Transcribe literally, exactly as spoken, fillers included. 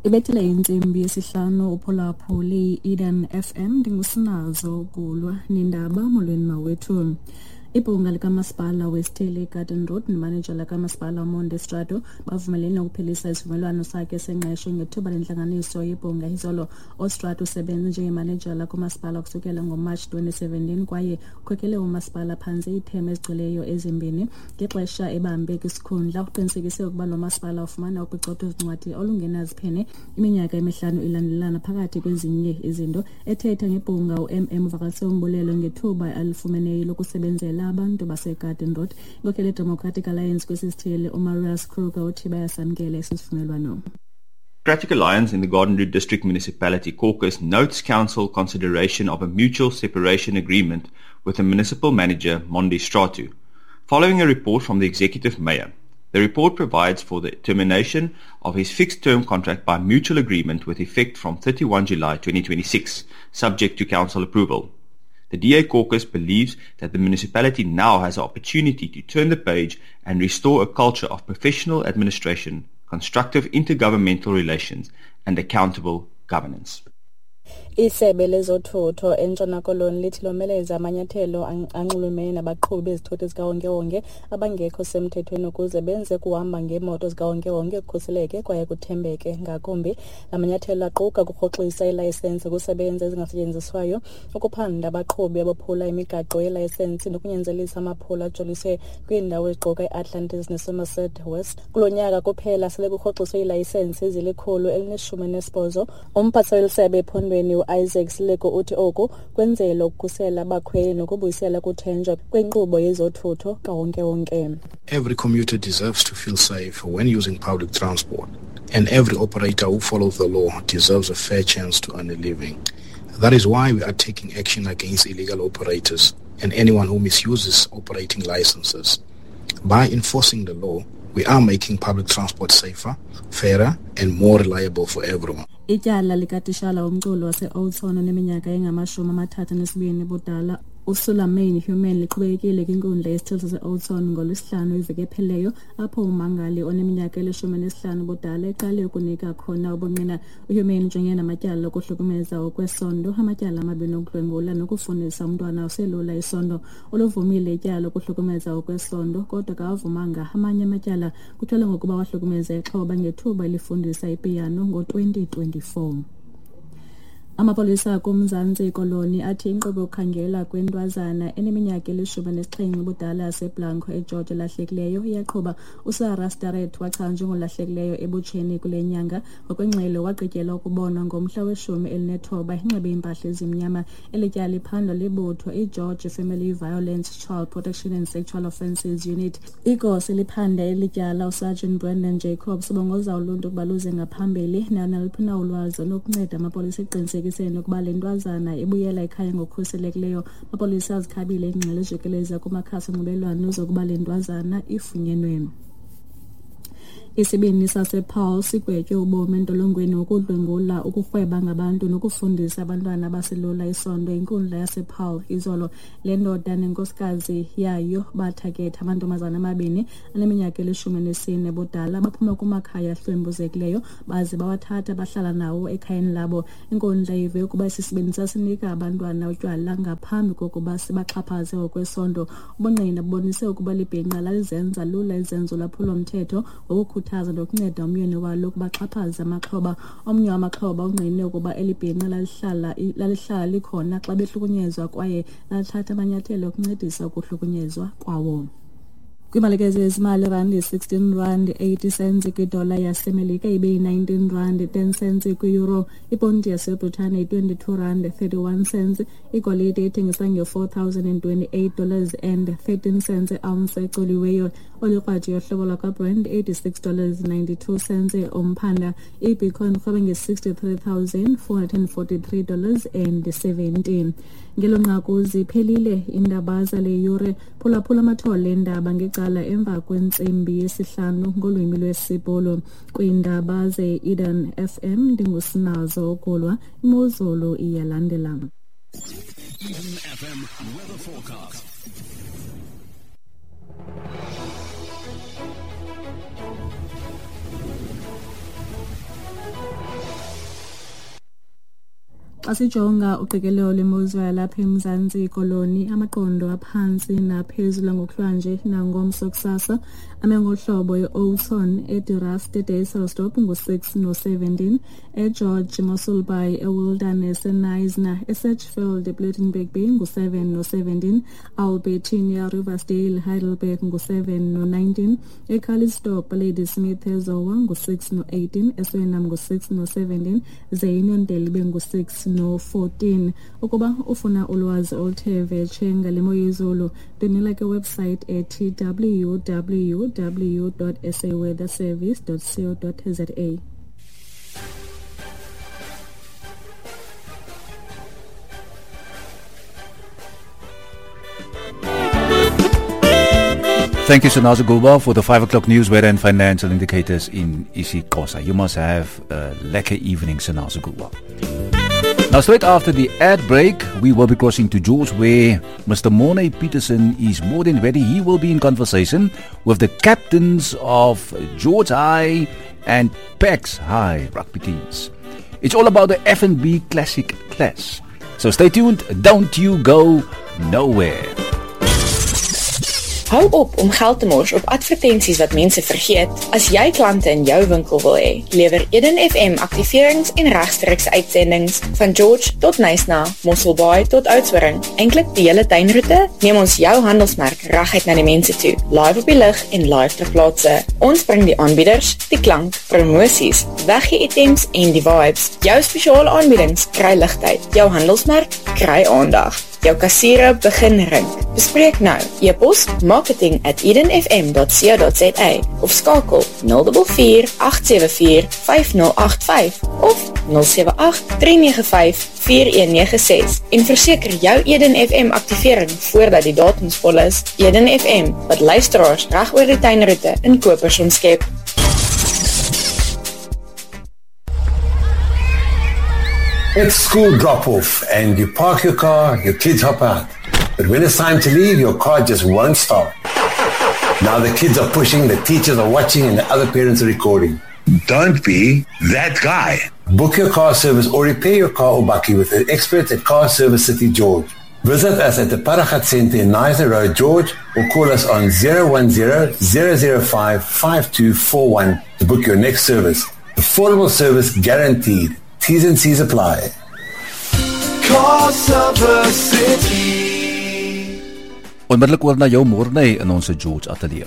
Ibethile intsimbi yesihlanu uphulaphuli Eden F M, ndingusinazo Gulwa nindaba. Molweni mawethu. Ibhunga likamasipala wesithili Garden Road nemanejala kamasipala uMonde Strato bavumelene ukuphelisa isivumelwano sakhe sengqesho ngethuba lentlanganiso yebhunga izolo. UStrato usebenze njengemanejala kumasipala kusukela ngoMarch twenty seventeen kwaye ukhokele umasipala phantsi iithemu ezigcweleyo ezimbini. Ngexesha ebambe kwisikhundla uqinisekise ukuba lo masipala ufumana uphicotho zincwadi olungenaziphene iminyaka emihlanu ilandelelana phakathi kwezinye izinto. Ethetha ngebhunga u-M M uvakalise umbulelo ngethuba alifumeneyo lokusebenzela abantu baseGarden Road. Inkokheli yeDemocratic Alliance kwesi sithili uMarius Kruger uthi bayasamkela esi sivumelwano. Democratic Alliance in the Garden Route District Municipality Caucus notes council consideration of a mutual separation agreement with the municipal manager Monde Strato, following a report from the executive mayor. The report provides for the termination of his fixed-term contract by mutual agreement with effect from thirty-first July twenty twenty-six, subject to council approval. The D A caucus believes that the municipality now has an opportunity to turn the page and restore a culture of professional administration, constructive intergovernmental relations, and accountable governance. Isebe lezothutho eNtshona Koloni lithi lomeleza amanyathelo anxulumene nabaqhubi bezithuthi zikawonkewonke abangekho semthethweni ukuze benze kuhamba ngeemoto zikawonkewonke kukhuseleke kwaye kuthembeke ngakumbi. La manyathelo aquka ukurhoxisa iilayisensi kusebenza ezingasetyenziswayo, ukuphanda abaqhubi abophula imigaqo yelayisensi nokunyanzelisa amaphulo ajoliswe kwiindawo eziquka iAtlantis neSomerset West. Kulo nyaka kuphela sele kurhoxiswe iilayisensi ezilikhulu elineshumi nesibhozo. Umphathiswa weli sebe ephondweni Isaac Sileko uthi oku kwenzelwa ukukhusela abakhweli nokubuyisela kuthenjwa kwinkqubo yezothutho kawonkewonke. Every commuter deserves to feel safe when using public transport, and every operator who follows the law deserves a fair chance to earn a living. That is why we are taking action against illegal operators and anyone who misuses operating licenses. By enforcing the law, we are making public transport safer, fairer, and more reliable for everyone. Ityala likatishala womculo wase-Oudtshoorn oneminyaka engamashumi amathathu anesibini budala uSulamain Human liqhubekekile kwinkundla yesithili sase-Oudtshoorn ngoLwesihlanu iveki ephelileyo, apho ummangali oneminyaka elishumi nesihlanu budala eqale ukunika khona ubungqina. UHuman ujongene namatyala okuhlukumeza okwesondo, amatyala amabini okudlwengula nokufundisa umntwana oselula isondo. Uluvumile ityala lokuhlukumeza okwesondo kodwa akawavumanga amanye amatyala. Kutyholwa ngokuba wahlukumeza ixhoba ngethuba elifundisa ipiyano ngo-twenty twenty-four. Amapolisa kumzantsi Koloni athi inkqubo yokukhangela kwentwazana eneminyaka elishumi nesixhenxe ubudala yaseBlanco eGeorge elahlekileyo iyaqhuba. USarah Starrett wachazwa njengolahlekileyo ebutsheni kule nyanga. Ngokwengxelo wagqityelwa ukubonwa ngomhla weshumi elinethoba enxibe iimpahla ezimnyama. Eli tyala liphandwa libutho iGeorge Family Violence, Child Protection and Sexual Offences Unit. Igosa eliphanda eli tyala uSergeant Brendan Jacobs ubongoza uluntu ukuba luze ngaphambili naluphi na ulwazi olunokunceda amapolisa ekuqinisekiseni ukuba le ntwazana ibuyela ekhaya ngokukhuselekileyo. Amapolisa azikhabile iingxelo ezijikeleza kumakhasi onxibelelwano zokuba le ntwazana ifunyenwe. Isibini sasePaul sigwetywe ubomi entolongweni ngokudlwengula, ukurhweba ngabantu nokufundisa abantwana abaselula isondo inkundla yasePaul izolo. Le ndoda nenkosikazi yayo bathaketha amantombazana amabini aneminyaka elishumi nesine budala baphuma kumakhaya ahlwempuzekileyo baze bawathatha bahlala nawo ekhayeni labo. Inkundla ive ukuba esi sibini sasinika abantwana utywala ngaphambi kokuba sibaxhaphaze ngokwesondo. Ubungqina bubonise ukuba libhinqa lalizenza lula izenzo lwaphulomthetho ngokukhuthaza nokunceda umyeni walo ukuba axhaphaze amaxhoba. Omnye wamaxhoba ungqine ukuba eli bhinqa lalihlala lalihlala likhona xa behlukunyezwa kwaye lathatha amanyathelo okuncedisa ukuhlukunyezwa kwawo. Kwimalike zezimali, randi sixteen rand eighty cents kwidola yaseMelika ibe yi-nineteen rand ten cents kwi-euro. Iponti yaseBritane yi-twenty-two rand thirty-one cents. Igolide ithengiswa nge-four thousand and twenty-eight dollars and thirteen cents i-ounce ecoliweyo. Olikrwadi yohlobo lwakwaBrent eighty-six dollars ninety-two cents umphanda. IBitcoin irhweba nge-sixty-three thousand four hundred and forty-three dollars and seventeen. Ngelo nqaku ziphelile iindaba zale yure. Phulaphula amathole eendaba ngecala emva kwentsimbi yesihlanu ngolwimi lwesiBhulu. Kwiindaba ze-Eden F M ndingusinazo Ukulwa. Imozulu iyalandela. Eden F M weather forecast. Xa sijonga uqikelelo lwemozulu yalapha eMzantsi Koloni, amaqondo aphantsi naphezulu ngokuhlwanje nangomso kusasa ame ngohlobo e-Oudtshoorn, eDe-Rust, eDysselsdorp ngu-six no-seventeen, eGeorge, Mossel Bay, eWilderness, eKnysna, eSedgefield, ePlettenberg Bay ngu-seven no-seventeen, Albertinia, Riversdale, Heidelberg ngu-seven no-nineteen, eCalitzdorp, Ladysmith, eZowa ngu-six no-eighteen, eSuriname ngu-six no-seventeen, ze iUniondale ibe ngu-six no-fourteen. Ukuba ufuna ulwazi oluthe vetshe ngale mo yezulu, ndinila ke website ethi w w w dot s a weather service dot co dot z a. Thank you, Sanaza Gulba, for the five o'clock news, weather and financial indicators in isiXhosa. You must have a lekker evening, Sanaza Gulba. Now, straight after the ad break, we will be crossing to George, where Mister Mornay Peterson is more than ready. He will be in conversation with the captains of George High and Pax High rugby teams. It's all about the F N B Classic Clash. So stay tuned. Don't you go nowhere. Hou op om geld te mors op advertensies wat mense vergeet. As jy klante in jou winkel wil hê, lewer Eden F M aktiverings en regstreekse uitsendings van George tot Knysna, Mossel Bay tot Oudtshoorn. Eintlik die hele tuinroete, neem ons jou handelsmerk reguit na die mense toe, live op die lug en live ter plaatse. Ons bring die aanbieders, die klank, promosies, weggee-items en die vibes. Jou spesiale aanbiedings kry ligtyd, jou handelsmerk kry aandag. Jou kassiere begin rink. Bespreek nou. E-pos marketing at eden f m dot co dot z a of skakel nul vier vier agt sewe vier vyf nul agt vyf of nul sewe agt drie nege vyf vier een nege ses en verseker jou Eden F M aktivering voordat die datums vol is. Eden F M, wat luisteraars reg oor die tuinroete in kopers omskep. It's school drop-off and you park your car, your kids hop out. But when it's time to leave, your car just won't start. Now the kids are pushing, the teachers are watching, and the other parents are recording. Don't be that guy. Book your car service or repair your car or bakkie with the experts at Car Service City George. Visit us at the Paragat Center in Knysna Road, George, or call us on zero one zero, zero zero five, five two four one to book your next service. Affordable service guaranteed. T's and C's apply. Car Service City. Onmiddellik oor na jou Morney in ons George ateljee.